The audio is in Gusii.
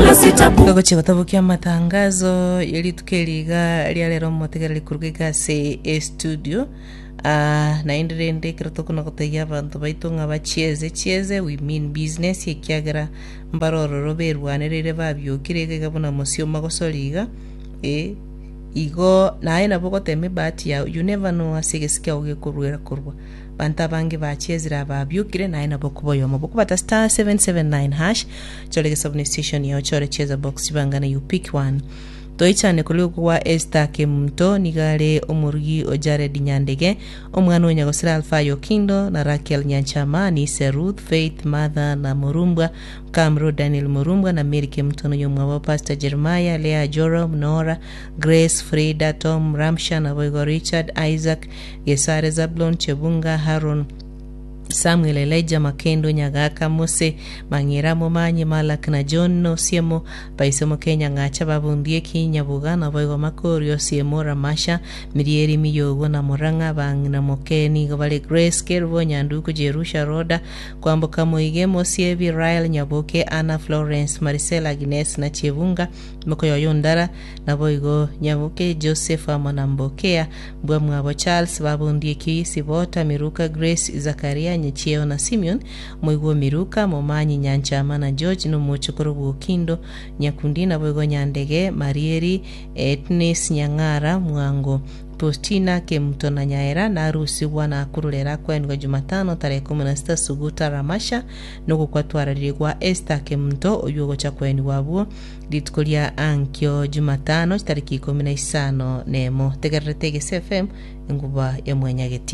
Wala sitapu. Togochia gotabokia amatangazo ye rituko eri iga ria rero omotegereri koruga iga ase estudio. Ah, naende rende ekero tokona gotebia abanto baito ng'a bachieze chieze we mean business ekiagera mbare ororo berwanereire babiokire iga iga buna mosioma gosori iga eh, igo naye nabo ogotema ebahati yao you never know ase egesi kiago gekoruera korwa. Abanto abange bachiezire ababiokire naye nabo okoba oyomo. Bokobata star 779 hash chore egesabu station yao chore cheza box chibangane you pick one. Toichane korwa okwo gwa Esther Kemunto nigo are omorugi o Jared Nyandege, omwana o Nyagosira Alfayo Okindo na Rakel Nyanchama, Nise Ruth, Faith, Martha na Morumbwa, Kamro Daniel Morumbwa na Mary Kemunto na oyomwabo Pastor Jeremiah, Leah Joram, Nora, Grace, Frida, Tom, Ramsha naboigo Richard, Isaac, Gesare, Zabulon, Chebunga, Haron, Samuel, Elijah, Makendo, Nyagaka, Mose, Mang'era, Momanyi, Malak, na John, Osiemo, Baise Mokenya, Ng'acha, Babundieki, Nyabuga, naboigo Makori, Osiemo, Ramasha, Mirieri, Miyogo, na Murang'a, Bang'ina Moke, nigo bare Grace, Kerubo, Nyanduku, Jerusha, Roda, Kwamboka, Moige, Mosiebi, Rael, Nyaboke, Anna, Florence, Marisela, Agnes, na Chebunga, Mokoyoyo Ndara, naboigo Nyaboke, Joseph, amo na Mbokea, Mbwamwabo Charles, Babundieki, Sibota, Miruka, Grace, Zakaria, Nyachieo na Simeon, Moigwa o Miruka, Momanyi, Nyanchama na George, na omochokoro bw'Okindo, Nyakundi, naboigo Nyandege, Marieri, Etnis, Nyang'ara, Mwango, Postina, Kemuto na Nyaera, narusigwa na kururera kwenigwa Jumatano tarehe ikomi na sita Suguta Ramasha, nogokwa twararirie gwa Esther Kemunto oyio ogocha kwenigwa abwo Rituko ria ankio Jumatano chitariki ikomi na isano nemo. Tegererete Egese FM, enguba ya Mwanyageti.